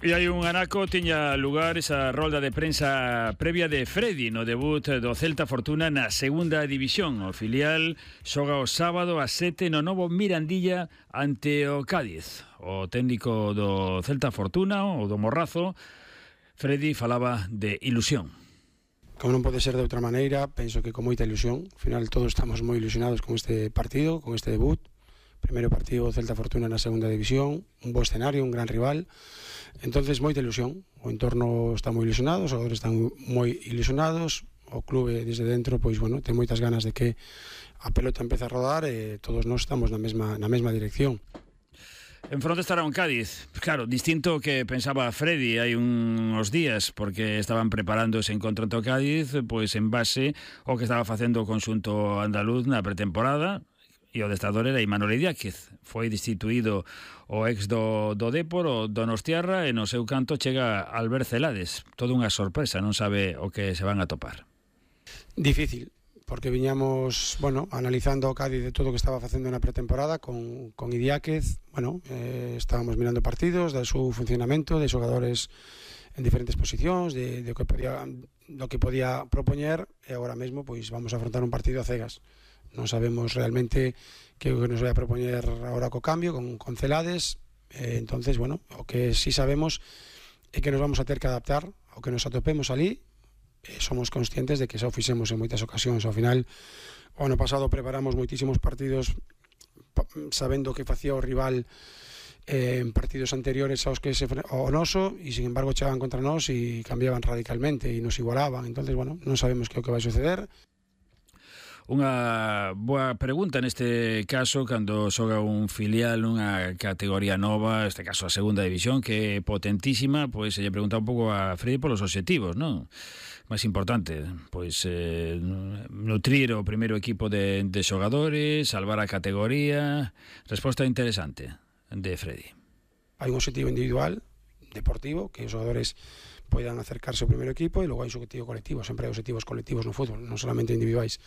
E hai un anaco, tiña lugar esa rolda de prensa previa de Freddy no debut do Celta Fortuna na segunda división. O filial xoga o sábado a 7 no novo Mirandilla ante o Cádiz. O técnico do Celta Fortuna, o do Morrazo, Freddy, falaba de ilusión. Como non pode ser de outra maneira, penso que con moita ilusión. Ao final todos estamos moi ilusionados con este partido, con este debut. Primeiro partido Celta Fortuna na segunda división, un bo escenario, un gran rival. Entonces moita ilusión, o entorno está moi ilusionado, os xogadores están moi ilusionados, o clube desde dentro pois bueno, ten moitas ganas de que a pelota empece a rodar e todos nós estamos na mesma dirección. En fronte estará un Cádiz, claro, distinto que pensaba Freddy hai uns días, porque estaban preparando ese encontro ante o Cádiz, pois en base ao que estaba facendo o conxunto andaluz na pretemporada. E o adestrador era Imanol Idiáquez. Foi destituído o ex do Dépor, o Donostiarra, e no seu canto chega Albert Celades. Todo unha sorpresa, non sabe o que se van a topar. Difícil, porque viñamos, analizando o Cádiz de todo o que estaba facendo na pretemporada con Idiáquez. Estábamos mirando partidos, do seu funcionamento, de xogadores en diferentes posicións, do que podía propoñer, e agora mesmo pois vamos a afrontar un partido a cegas. Non sabemos realmente que nos vai a propoñer agora co cambio con Celades. Entonces, o que sí sabemos é que nos vamos a ter que adaptar ao que nos atopemos ali. Somos conscientes de que xa o fixemos en moitas ocasións. Ao final, o ano pasado preparamos moitísimos partidos sabendo que facía o rival en partidos anteriores aos que o noso, e sin embargo chegaban contra nós e cambiaban radicalmente e nos igualaban. Entonces, non sabemos que é o que vai suceder. Unha boa pregunta neste caso cando xoga un filial nunha categoría nova, este caso a segunda división, que é potentísima, pois se lle pregunta un pouco a Freddy polos obxectivos, non? Máis importante, pois nutrir o primeiro equipo de xogadores, salvar a categoría. Resposta interesante de Freddy. Hai un obxectivo individual, deportivo, que os xogadores poidan acercarse ao primeiro equipo, e logo hai un obxectivo colectivo. Sempre hai obxectivos colectivos no fútbol, non solamente individuais.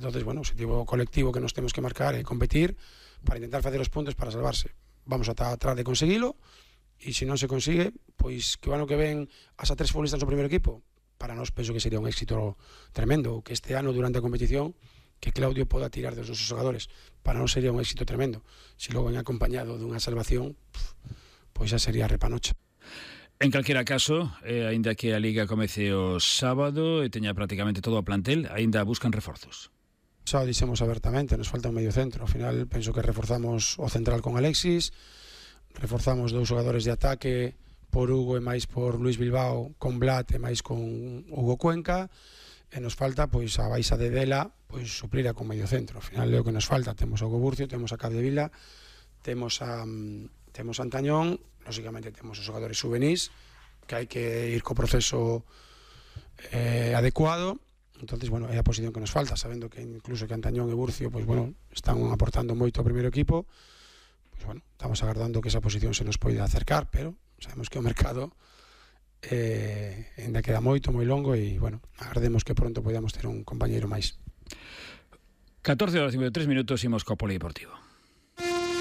Entonces, o obxectivo colectivo que nos temos que marcar é competir para intentar facer os puntos para salvarse. Vamos a tratar de conseguilo, e se non se consigue, pois que o ano que ven as a 3 futbolistas no primeiro equipo, para nós penso que sería un éxito tremendo. Que este ano, durante a competición, que Claudio poda tirar dos nosos xogadores, para nós sería un éxito tremendo. Se logo ven acompañado dunha salvación, pois xa sería repanocha. En calquera caso, aínda que a Liga comece o sábado e teña prácticamente todo o plantel, aínda buscan reforzos. Xa o dixemos abertamente, nos falta un medio centro. Ao final, penso que reforzamos o central con Alexis, reforzamos 2 xogadores de ataque, por Hugo e máis por Luis Bilbao, con Blat e máis con Hugo Cuenca, e nos falta, pois, a baixa de Dela, pois, suplira con medio centro. Ao final, é o que nos falta. Temos a Hugo Burcio, temos a Capdevila, temos a Antañón, lógicamente temos os xogadores juvenis, que hai que ir co proceso adecuado. Entonces, é a posición que nos falta, sabendo que incluso que Antañón e Burcio están aportando moito ao primeiro equipo. Estamos agardando que esa posición se nos poida acercar, pero sabemos que o mercado ainda queda moi longo, e agardemos que pronto podamos ter un compañeiro máis. 14:53 minutos, imos co polideportivo.